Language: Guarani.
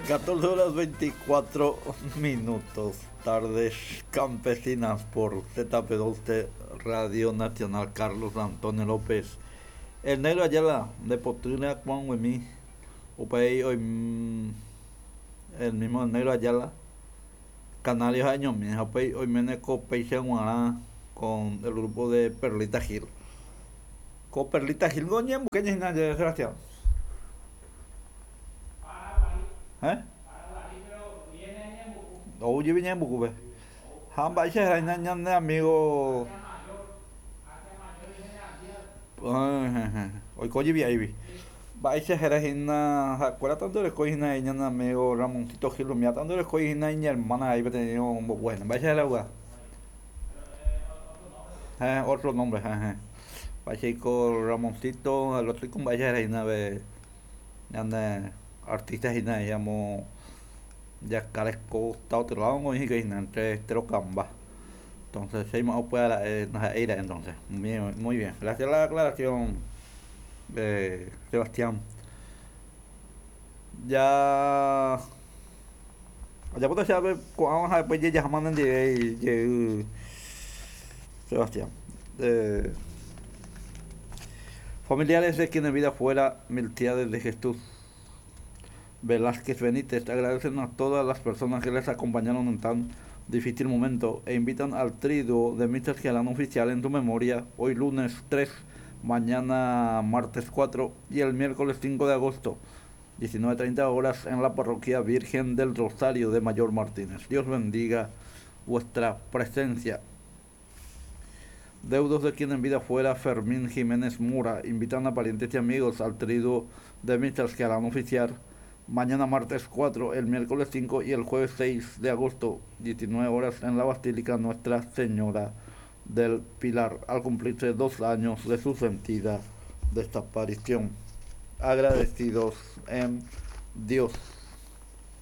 14 horas 24 minutos, tardes campesinas por ZP12 Radio Nacional Carlos Antonio López. El negro Ayala de Potrina Juan Huemí, upéi oim el mismo negro Ayala, Canarios añomi, ha upéi oiméne ko péicha g̃uarã con el grupo de Perlita Gil. Ko Perlita Gil niko oñemboyke hína Sebastián. ¿Eh? Ou jepi ñembukúpe. Ha mba'éicha héra ñane amigo oiko jepi áigui. Mba'éicha héra hína ha'ekuéra tanto orekói hína ñane amigo Ramoncito Gil umíva tanto orekói hína iñermána ahí peteĩ ombopu hína. Mba'éicha héra upéva? Héẽ, otro nombre, héẽ. Mba'éichaiko Ramoncito, el otro mba'éicha héra hína pe ñane artista hína ahí amo Yacaré costa otro lado oĩ hikuái hína entre Estero Kamba. Entonces che aimo'ã upéva ra'e ndaha'éi ra'e entonces. Muy bien, gracias la aclaración Sebastián. Ya ajapóta che ápe ko'ãva ha después jejaháma nendive jey Sebastián. Familiares de quien en vida fuera Miltiades de Jesús Velázquez Benítez agradecen a todas las personas que les acompañaron en tan difícil momento e invitan al triduo de misas que harán oficial en su memoria hoy lunes 3, mañana martes 4 y el miércoles 5 de agosto, 19.30 horas en la parroquia Virgen del Rosario de Mayor Martínez. Dios bendiga vuestra presencia. Deudos de quien en vida fuera Fermín Jiménez Mura invitan a parientes y amigos al triduo de misas que harán oficiar mañana martes 4, el miércoles 5 y el jueves 6 de agosto, 19 horas en la Basílica Nuestra Señora del Pilar, al cumplirse dos años de su sentida desaparición. Agradecidos en Dios.